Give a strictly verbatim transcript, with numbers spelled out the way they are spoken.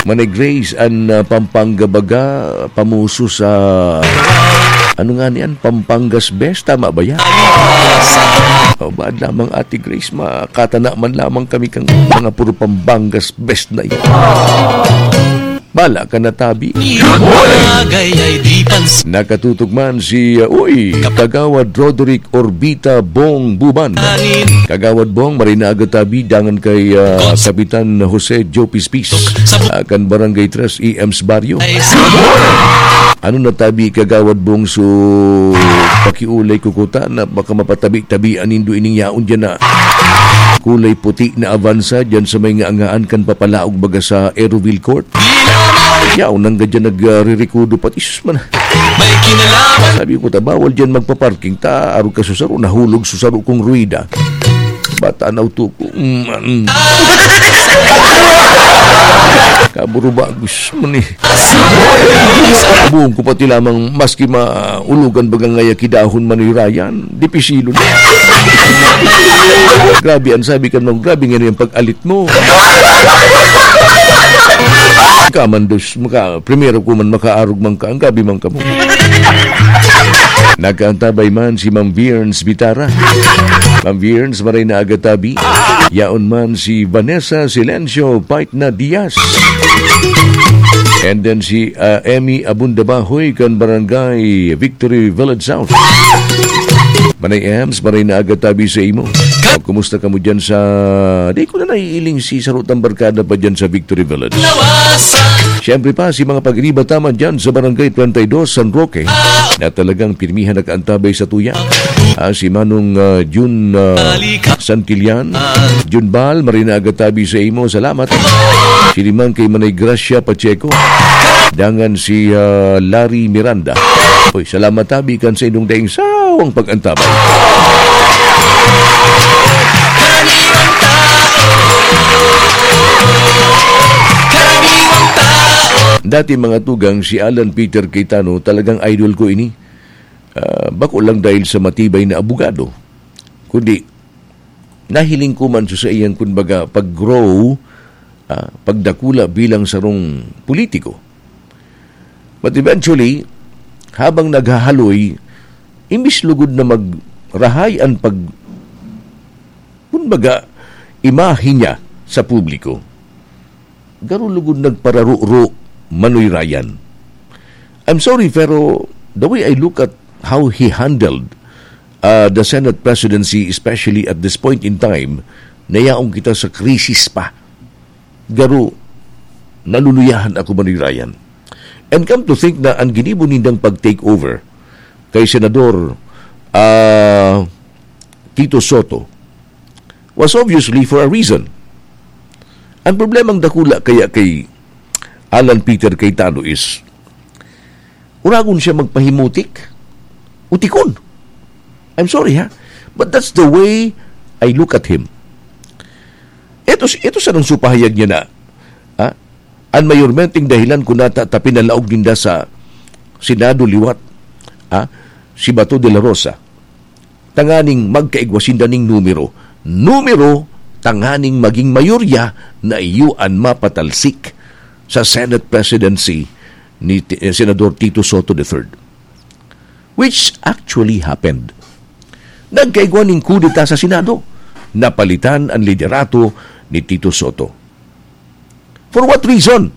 Manay Grace, an, ah, Pampanga baga, pamuso sa, ano nga niyan, Pampanga's Best, tama ba yan? O, baad lamang, Ate Grace, makatana man lamang kami kang mga puro Pampanga's Best na yan. Bala ka na, tabi. Bagay ay di pansin. Nakatutok man si, uh, uy, Kagawad Roderick Orbita Bong Buban. Kagawad Bong, maray na aga tabi, dangan kay, uh, Kapitan Jose Joe Pispis. Uh, kan Barangay Tres E M's Barrio. Ano na tabi, Kagawad Bong, so pakiulay ko kuta na baka mapatabi-tabi an nindo ining yaon dyan na kulay puti na Avanza dyan sa may ngaangaan kan papalaog baga sa Aeroville Court. Yaon nang gadyan nagririkudo pati, sus man. May kinalaman. Sabi ko, "Ta, bawal dyan magpa-parking. Ta, arog ka susaro, nahulog susaro kong ruwida." Bata na auto ko. Mm, mm. Kaburuba, gus man eh. Buong ko pati lamang maski maulogan baga ngaya kidahon manirayan. Dipisilo na. Grabe, ang sabi ka naman, grabe nga na yung pag-alit mo. Kamandos, maka, primero ko man makaarog man ka, ang gabi man ka mo. Nagkaantabay man si Ma'am Viernes Bitara. Ma'am Viernes, maray na aga tabi. Yaon man si Vanessa Silencio Paitna Diaz. And then si, ah, Emmy Abunda Bahoy kan Barangay Victory Village South. Manay Ems, maray na aga tabi sa imo. Kumusta ka mo dyan sa, di ko na naiiling si sarutang barkada pa dyan sa Victory Village. Siyempre pa, si mga pag-iriba taman dyan sa Barangay twenty-two San Roque na talagang pirmihan nakaantabay sa tuya. Ah, si Manong, ah, Jun, ah, Santillan. Jun Bal, maray na aga tabi sa imo. Salamat. Siring man kay Manay Gracia Pacheco. Dangan si, ah, Larry Miranda. Uy, salamat tabi kan sa inyong daing sawang pag-antabay. Dati, mga tugang, si Alan Peter Cayetano, talagang idol ko ini. Ah, bako lang dahil sa matibay na abogado, kundi nahiling ko man sa saiyang, kumbaga, pag-grow, ah, pagdakula bilang sarong politiko. But eventually, habang naghahaloy, imbis lugod na magrahay an pag-, kumbaga, imahe niya sa publiko, garo lugod nagpararuro, Manoy Ryan. I'm sorry, pero the way I look at how he handled, uh, the Senate presidency, especially at this point in time, nayaon kita sa krisis pa. Garo, naluluyahan ako, Manoy Ryan. And come to think na ang ginibo nindang pag-take over kay Senador, ah, Tito Soto was obviously for a reason. Ang problemang dakula kaya kay Alan Peter Cayetano is, uragon siya magpahimutik, utikon. I'm sorry, ha? But that's the way I look at him. Ito, ito sa nang supahayag niya na, ha? An mayormenteng dahilan kun nata ta pinalaog ninda sa Senado liwat, ha? Si Bato de la Rosa. Tanganing magkaigwa sinda ning numero. Numero, tanganing maging mayorya na iyo an mapatalsik sa Senate presidency ni Ti-, eh, Senador Tito Soto the third. Which actually happened. Nagkaigwa ning kudeta sa Senado. Napalitan an liderato ni Tito Soto. For what reason?